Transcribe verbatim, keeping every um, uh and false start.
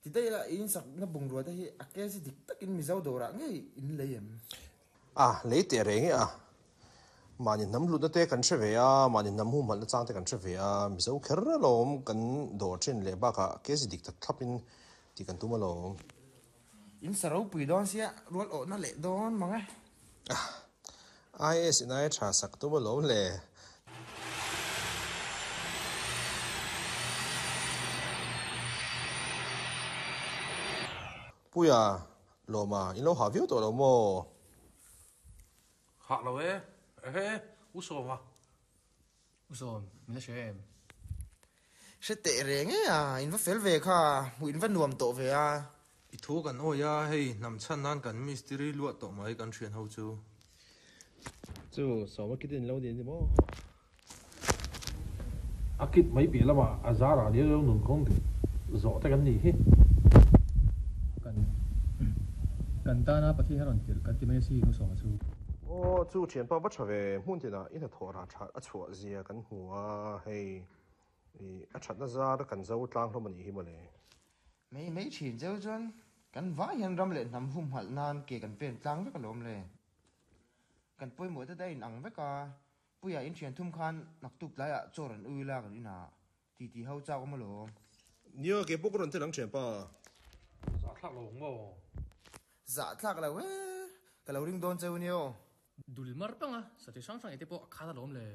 Ti daih ila, i insakna bungrua te hi a kg dik takin Mizo dawrah ngei in lei em? A, lei teh reng e a. Mahni hnam hlutna te kan hre ve a, mahni hnam humhalhna chang te kan hre ve a, Mizo kher alawm kan dawr thin leh bakah kg dik tak thlapin tih kan tum alawm. In sa ropui dawn sia, rual awhna leh dawn mang e. I A S in aia tha sak tum alawm le. Puia, Lawma, in lo hah viau tawh lo maw? Hah lo e, ehe, U Sawma. U Sawm, min la hria em? Hre teh reng e a, in va fel ve kha, hmuh in va nuam tawh ve a. I thu kan awi a, hei hnam chhan nan kan mistiri luah tawh mai kan thian ho chu. Chu Sawma kit in lo ni ani maw? A kit mai piah lamah a zarah liau liau nun kawng dik zawh te kan nih hi. Kan kan tana Pathian a rawn tirh kan ti mai asin U Sawma chu. Aw chu thianpa va tha ve, hmun tinah i hnathawh rah that a chhuah zia kan hmu a, hei i a thatna zar kan zo tlang hlawm a nih hi mawle. Mai mai thin cheu chuan kan vai hian ram leh hnam humhalh nan ke kan pen tlang vek alawm le. Kan pawimawh te daih in ang vek a, Puia in thian thum khan naktuk tlaiah chaw rawn ui la kan inah titi ho chak awm alawm. Nia, ke pawh ka rawn tel ang thian pa. Zahthlak lo ang maw? Zahthlak lo e, ka lo ring dawn cheu nia aw. Dul mar panga, satih hrang hrang ei te pawh a khat alawm le.